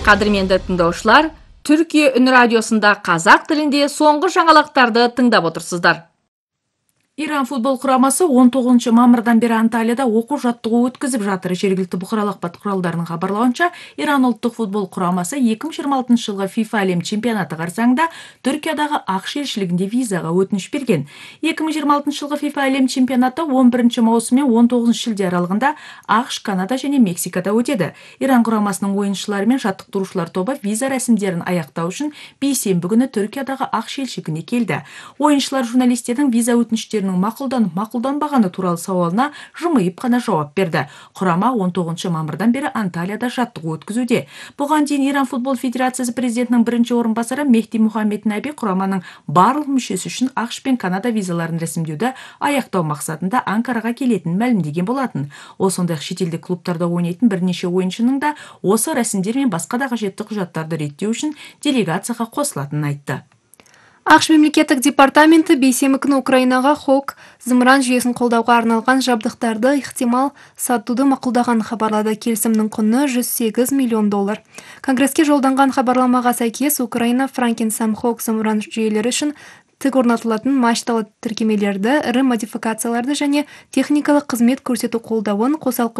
Кадырменди тыңдаушылар, Түркия үн радиосунда казак тилинде соңку жаңалыктарды тыңдап отурсуздар. Иран футбол курамасы 19 мамырдан бери Анталияда окуу жаттыгуу өткүзүп жатыр. Жергиликтүү букаралык акпарат куралдарынын кабарлауынча, Иран улуттук футбол курамасы 2026 жылгы FIFA Әлем чемпионаты карсаңында Түркиядагы АКШ элчилигинде визага өтүнүч берген. 2026 жылгы FIFA Әлем чемпионаты 11 маусым менен 19 шилде аралыгында АКШ, Канада жана Мексикада өтөдү. Иран курамасынын оюнчулары менен жаттыктыруучулар тобу виза расимдерин аяктоо үчүн бейсенби күнү Түркиядагы АКШ элчилигине келди. Оюнчулар журналисттердин виза өтүнүчтөрүнүн макулданбаганы тууралуу сабалына жымыйып гана жооп берди. Курама 19 мамырдан бери Анталияда жаттыгуу өткүзүүдө. Буга чейин Иран футбол федерациясы президентинин биринчи орун басары Мехди Мухаммед Наби кураманын барлык мүчөсү үчүн АКШ пен Канада визаларын расимдөөдө аяктоо максатында Анкарага келетинин маалимдеген болатын. Ошондой чет элдик клубтарда ойнойтун бир нече оюнчунун да осы расимдер менен башка да кажеттүү кужаттарды реттөө үчүн делегацияга косулатынын айтты. АКШ мемлекеттик департаменти бейсенби күнү Украинага Хок зымыран жүйесин колдоого арналган жабдыктарды ыктымал сатууду макулдаганын кабарлады. Келисимдин куну $108 миллион. Конгресске жолдонгон кабарламага сайкес Украина Франкен-Сам Хок зымыран жүйөлөрү үчүн тик орнотулатын мачталуу тиркемелерди, ыры модификацияларды және техникалык кызмет көрсөтүү колдообун, косалкы